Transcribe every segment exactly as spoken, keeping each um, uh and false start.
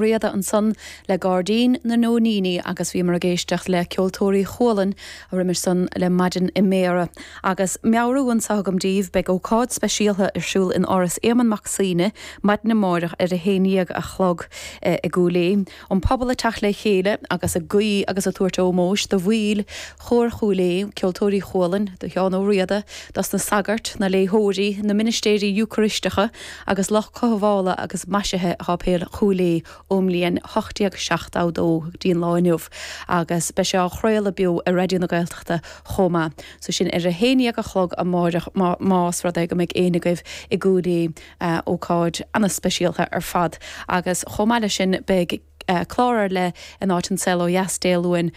Riada ansan le Gairdín na Nóiníní agus bhíomar ag éisteacht le Ceoltóirí Chualann roimhe san le Maidin i mBéarra. Agus meabhrú anseo agam daoibh beidh ócáid speisialta ar siúl in Áras Éamonn Mac Suibhne maidin amárach ar a haon déag a chlog eh, i gCúil Aodha. An pobal ag teacht le chéile agus ag guí agus ag tabhairt ómóis do bhaill Chór Chúil Aodha, Ceoltóirí Chualann, do Sheán Ó Riada, dos na sagairt, na léitheoirí, na ministéirí Eocairisteacha agus lucht cothabhála agus maisithe Shéipéal Chúil Aodha ón mbliain ocht déag seachtó dó go dtí an lá inniu agus beidh sé á chraoladh beo ar Raidió na Gaeltachta chomh maith. So sin ar a haon déag a chlog amárach más rud é go mbeidh éinne agaibh i gCúil Aodha ócáid an-speisialta ar fad agus chomh maith leis sin beidh clár ar leith in áit An Saol Ó Dheas Dé Luain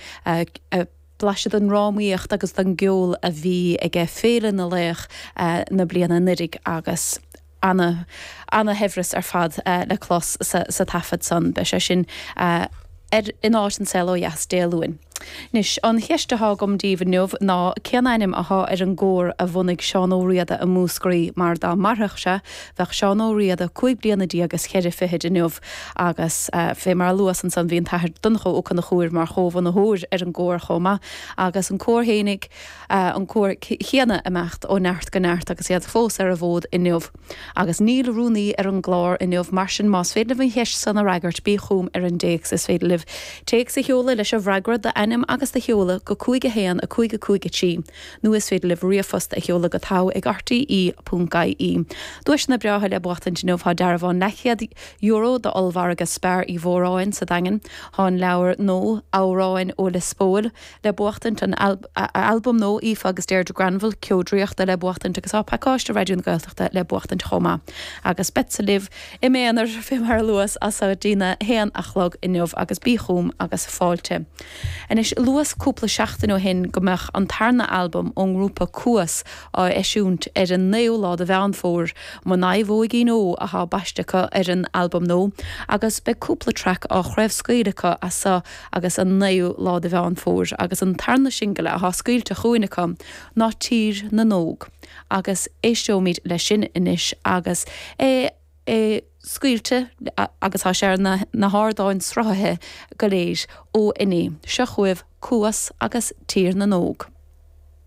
blaiseadh den drámaíocht agus den gceol a bhí aige Féile na Laoch na bliana anuraidh agus ana ana-shaibhreas ar fad le clos sa, sa taifead san. Beidh sé sin ar in áit An Saol Ó Dheas Dé Luain. Anois, an cheist atá agam daoibh inniu ná cén ainm atá ar an gcór a bhunaigh Seán Ó Riada i Múscraí mar dá mairfeadh sé bheadh Seán Ó Riada cúig bliana déag is ceithre fichid inniu agus fé mar a luas ansan bhí an tAthair Donnchadh Ó Conchúir mar chomhbhunaitheoir ar an gcór chomh maith agus an cór fhéinig an cór chéanna ag imeacht ó neart go neart agus iad fós ar an bhfód inniu. Agus níl rúnaí ar an gclár inniu, mar sin más féidir libh an cheist san a fhreagairt bí chugam ar an dtéacs. Is féidir libh téacs a sheoladh leis an bhfreagra, d'ainm agus do sheoladh go cúig a haon a cúig a cúig a trí nó is féidir libh ríomhphost a sheoladh go togha ag rte ponc ie. Duaiseanna breátha le buachtaint inniu tá dearbhán leathchéad euro d'ollmhargadh Spar Uí Mhóráin sa Daingean, tá an leabhar nua Amhráin ó Lios Póil le buachtaint, an albam nua Aoife agus Deirdre Granville, Ceo Draíochta le buachtaint agus tá pacáiste Raidió na Gaeltachta le buachtaint chomh maith. Agus beadsa libh i m'aonar fé mar a luas as so go dtína haon a chlog inniu agus bí chugam agus fáilte. Anois luas cúpla seachtain ó shin go mbeadh an tarna albam ón ngrúpa Cuas á eisiúint ar an naoú lá de Mheán Fómhair, Mo Naomhóigín Ó atá baiste acu ar an albam nua agus beidh cúpla traic á chraobhscaoileadh acu as so agus an naoú lá de Mheán Fómhair agus an tarna singil atá scaoilte chugainn acu ná Tír na nÓg agus éisteoimid leis sin anois agus é é scaoilte agus tá sé ar na na hardáin sruthaithe go léir ó inné. Seo chugaibh Cuas agus Tír na nÓg.